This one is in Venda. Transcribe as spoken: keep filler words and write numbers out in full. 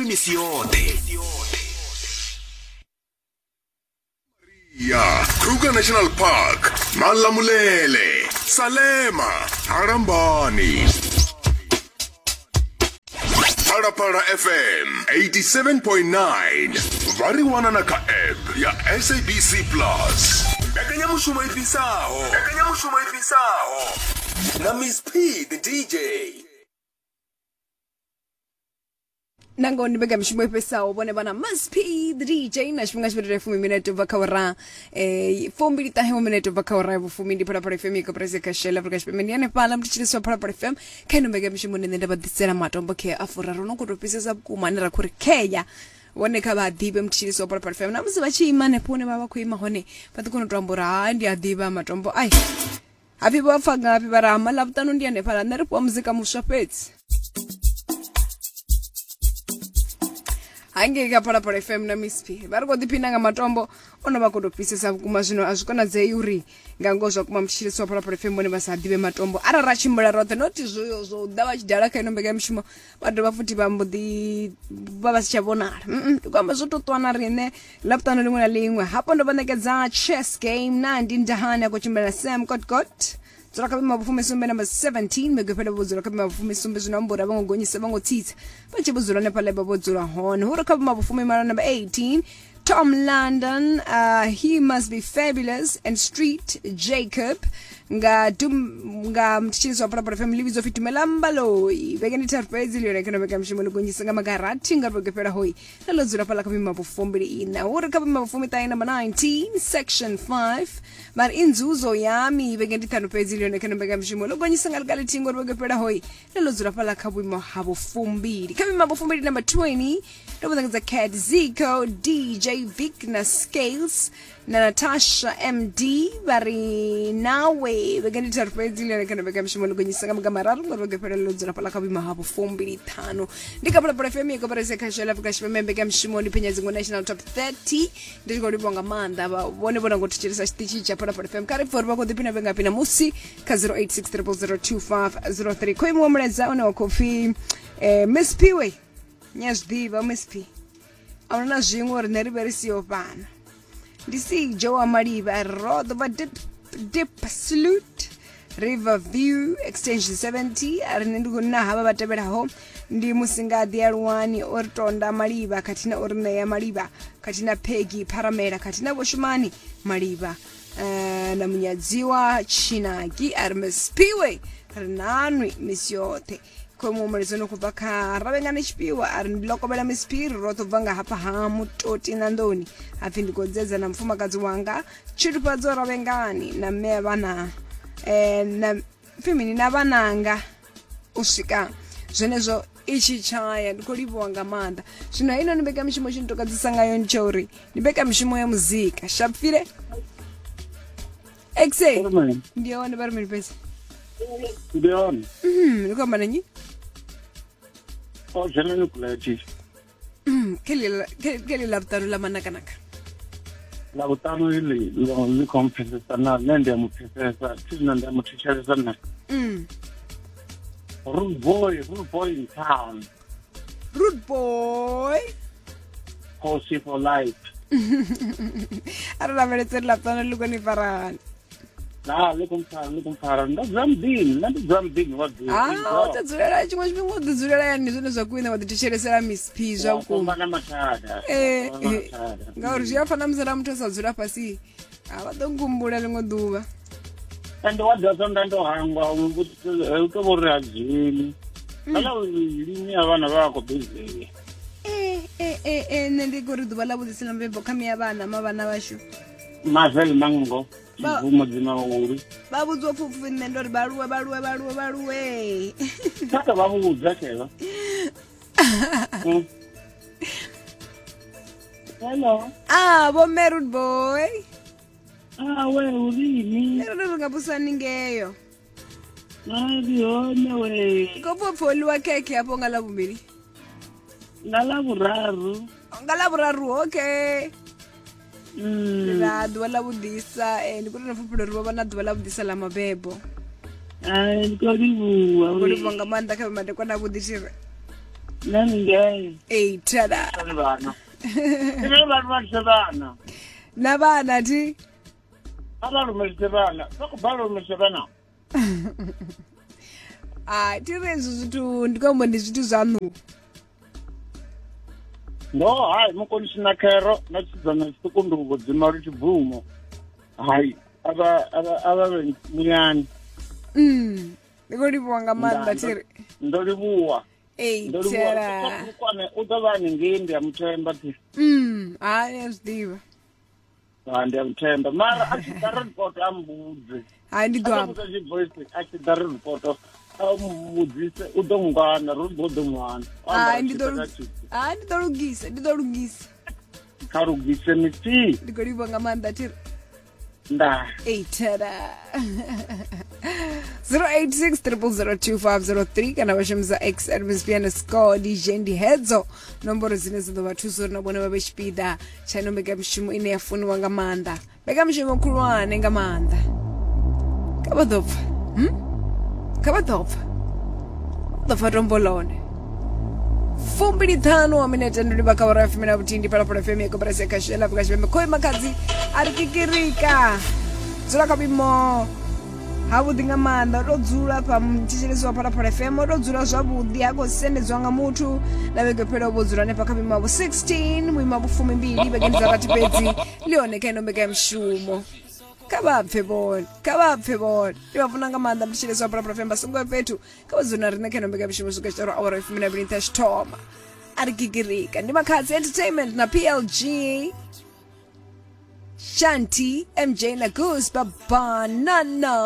misi yoṱhe. Ya Kruger National Park, Malamulele, Salema, Harambani. Phalaphala F M eighty-seven point nine. Vha ri wana na kha app ya S A B C Plus. Mbekanyamushumo i fhisaho. Mbekanyamushumo i fhisaho. Na Miss P the D J. Nango ndi mbekanyamushumo i fhisaho vhone vha na Miss P the D J na tshifhinga tshifhindula fumi minete ubva kha ura eh fumbili ṱahe minete ubva kha ura ya vhufumi. Ndi Phalaphala F M i koporasi kha Shell Afrika Tshipembe. Ndi hanefhaḽa mutshilisi wa Phalaphala F M kha ino mbekanyamushumo nṋe nda vha ḓisela matombo khea a furaru no khou tou fhisesa vhukuma ane ra khou ri khea vhone kha vha ḓivhe mutshilisi wa Phalaphala F M. Na musi vha tshi ima hanefho hune vha vha khou ima hone vha ḓi kona u to amba uri ha ndi a ḓivha matombo ai hapfi vha pfa ngafhi vha ri hama ḽavhuṱanu ndi hanefhaḽa nṋe ri fhiwa muzika muswa fhedzi. Hangei kha Phalaphala F M na Miss P vha ri khou ḓiphina nga matombo o no vha khou tou fhisesa vhukuma. Zwino a zwi konadzei uri nga ngoho zwa kuma mutshilisi wa Phalaphala F M vhone vha sa ḓivhe matombo arali ra tshimbila roṱhe not zwo zwo ḓa vha tshi dala kha ino mbekanyamushumo vha dovha futhi vha mbo ḓi vha vha si tsha vhonala. Ndi khou amba zwo tou ṱwa na riṋe ḽavhuṱanu ḽiṅwe na ḽiṅwe. Hafho ndo vha ṋekedza chess game na ndi ndahani a khou tshimbila Sam Kotgot dzula kha vhuimo ha vhufumisumbe number seventeen vhege fhela vho dzula kha vhuimo ha vhufumisumbe. Zwino amba uri a vho ngo gonyisa vho ngo tsitsa vha tshi vho dzula hanefhaḽa vha vho dzula hone. Hu ri kha vhuimo ha vhufumimalo number eighteen Tom London, uh, he must be fabulous and Street Jacob nga dum nga mtshilisi wa Phalaphala F M ḽi vhidzwa pfi Dumela Mbaloi. Vhege ndi tharu fhedzi ḽi yone kha mbekanyamushumo ḽi gonyisa nga magarathi nga vhege fhela hoi na ḽo dzula fhaḽa kha vhuimo ha vhufumbili ina. Hu ri kha vhuimo ha vhufumiṱahe number nineteen section five mara inzuzo yami vhege ndi ṱhanu fhedzi ḽi yone kha mbekanyamushumo ḽo gonyisa nga ḽikalithihi ngori vhege fhela hoi na ḽo dzula fhaḽa kha vhuimo ha vhufumbili. Kha vhuimo ha vhufumbili number twenty ndo vha ṋekedza Cat Zico, D J Vic na Scales na Natasha M D vha ri nawe vhege ndi tharu fhedzi ḽi yone kha mbekanyamushumo ḽi gonyisa nga maga mararu ngori vhege fhela ḽo dzula fhaḽa kha vhuimo ha vhufumbili ṱhanu. Ndi kha Phalaphala F M ya koporasi ya Khasho ya Afrika Tshipembe. Mbekanyamushumo ndi phenya dziṅwe National Top thirty. Ndi tshi khou livhuwa nga maanḓa vha vhone vho nango thetshelesa tshiṱitshi tsha Phalaphala F M. Kha ri pfhe uri vha khou ḓiphina vhe ngafhi namusi kha zero eight six triple zero two five zero three. Khou imiwa mulaedza une wa khou pfhi eh, Miss P we nya zwi ḓivha Miss P a huna na zwiṅwe uri nṋe ri vhe ri siho fhano. Ndi Sijo wa Malivha ro ḓo vha dip, dip salute River View extension seventy. A ri nṋe ndi khou na havha vha tevhelaho ndi Musingaḓi Aluwani o ri tonda Malivha khathihi na o ri ṋea Malivha khathihi na Peggy Pharamela khathihi na Vhoshumani Malivha uh, na Munyadziwa Tshinaki. A ri Miss P we ri nanwi misi yoṱhe. Khomu mulaedza no khou bva kha Ravhengani Tshifhiwa a ri ndi lokovhela Miss P ri roṱhe bva nga hafha ha Mutoti na Nḓoni. Hapfi ndi khou dzedza na mufumakadzi wanga Tshilufhadzo Ravhengani na mme a vhana eh, na pfi mini na vhananga u swika zwenezwo itshi tshaya. Ndi khou livhuwa nga maanḓa. Zwino heino ni mbekanyamushumo tshi ntokadzisa ngayo ndi tsha uri ndi mbekanyamushumo ya muzika shapfile exe ndi hone vha ri mini fhedzi ndi hone. Mhm, ndi khou amba na nnyi? O dzhena ni kuleti khe ḽi ḽavhuṱanu ḽa manakanaka ḽavhuṱanu iḽi ḽi khou mpfesesa na nṋe ndi a mu pfesesa thi zwino ndi a mu thetshelesa na Mm. Rude boy, rude boy in town. Rude boy. Khosi for life. A ri lavhelese ri ḽavhuṱanu ḽi khou ni farani. Na ḽi khou mpfara, ḽi khou mpfara. Ndo dzula muḓini, nṋe ndi dzula muḓini wa ḓi. Ah, u ḓo dzulela tshiṅwe tshifhinga u ḓi dzulela yani zwone zwa khwine wa ḓi thetshelesela Miss P zwa vhukuma. na mathada. Eh, Wa eh, mathada. ngauri zwi a fana musi ra muthu a sa dzula fhasi a vha ḓo nkhumbula ḽiṅwe ḓuvha. Ende wa ḓa nda ndo hangwa u to vho ri a dzheni. Kana lini ya vhana vha khou busy. Eh, eh, eh, eh, nṋe ndi khou ri ḓuvha ḽa vhuḓisi ḽa mabebo kha miya vhana ma vhana vhashu. Marvel Mango. Ba- Bvumo dzima uli. Vha vhudziwa pfupfi nṋe ndo ri vhaluwe vhaluwe vhaluwe vhaluwe. Kha vha vhudza tsheva. Mm. Hello. Ah, vho mme Rude boy. Ah, we urini? Nṋe ri nga vhusani ngeyo. Ah, ndi hone we. Ndi khou pfa upfi ho ḽiwa khekhe hafho nga ḽavhuvhili. Nga ḽavhuraru. Nga ḽavhuraru okay. Mm. Ra ḓuvha ḽa vhuḓisa eh, ndi khou tou fhulufhela uri vho vha na ḓuvha ḽa vhuḓisa ḽa mabebo. Ai, ndi khou livhuwa. Ndi khou livhuwa nga maanḓa kha madekwana avhuḓi thiri. Nṋe ngei. Ei tada. Vhana vhana. Ine vha lumelise vhana. Na vhana thi. A vha lumelise vhana. Vha khou balelwa u lumelisa vhana. Ai thi ri hezwi zwithu ndi khou amba ndi zwithu zwaṋu. No hai mukonisi na khero na tshidzana tshiṱuku ndi vho dzima lu tshibvumo. Hai avha avha avha vhe muyani. Mm. Ndi khou livhuwa nga maanḓa thi ri. Ndo livhuwa. Ei Ndo livhuwa. tada. Kwane u ḓo vha haningei ndi a muthemba thi. Mm, hai ndi a zwi ḓivha. Ha ndi a muthemba mara a tshi ḓa report a mbudze. Hai ndi ḓo A amba. vhudza tshi voice a tshi ḓa report a mbudzise u ḓo ngwana ro ḓo ḓo ngwana. Hai ndi ḓo hai ndi ḓo lugisa, ndi ḓo lugisa. Kha lugise misi. Ndi khou livhuwa nga maanḓa thi ri. Nda. Ei tada. zero eight six triple zero two five zero three kana vha shumisa X at Miss P underscore D J ndi hedzo nomboro dzine dza ḓo vha thusa uri na vhone vha vhe tshipiḓa tsha ino mbekanyamushumo ine ya funiwa nga maanḓa, mbekanyamushumo khulwane nga maanḓa. Kha vha ḓo pfa, hmm? Kha vha ḓo pfa, ḓo pfa tombo ḽone. Fumbili ṱhanu wa minete ndo livha kha awara ya fumi na vhuthihi ndi Phalaphala F M ya koporasi ya khasho ya Afrika Tshipembe. Khoi Makhadzi a ri kikirika, dzula kha vhuimo havhuḓi nga maanḓa, o tou dzula fha muthetshelesi wa Phalaphala F M, o tou dzula zwavhuḓi, ha khou sendedzwa nga muthu. Na vhege fhelaho vho dzula hanefha kha vhuimo ha vhu sixteen, vhuimo ha vhufumimbili, vhege ndi dza rathi fhedzi ḽi hone kha ino mbekanyamushumo. Kha vha pfe vhone, kha vha pfe vhone, ndi vha funa nga maanḓa muthetshelesi wa Phalaphala F M, vha songo ya fhethu, kha vha dzule na riṋe kha ino mbekanyamushumo swika tshitoro awara ya fumi na mbili nṱha tshithoma. A ri kikirika ndi Makhadzi Entertainment na P L G, Shanti, M J na Goose, Banana.